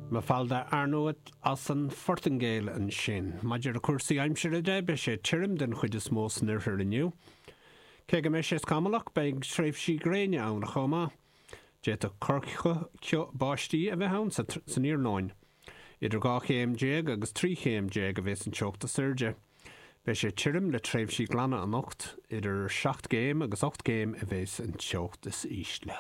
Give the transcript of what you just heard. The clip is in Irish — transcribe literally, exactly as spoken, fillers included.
Mafalda Arnauet as an Phortaingéil ansin. Maidir le cúrsaí aimsire de beidh sé tirim den chuid is mó san oirthear inniu. Cé go mbeidh sé scamallach beidh tréimhsí gréine ann chomh maith. D'fhéadfadh corrcheo báistí a bheith ann san iarnóin. Idir dhá chéim déag agus trí chéim déag a bheas an teocht is airde. Beidh sé tirim le tréimhsí glana anocht idir seacht gcéim agus ocht gcéim a bheas an teocht is ísle.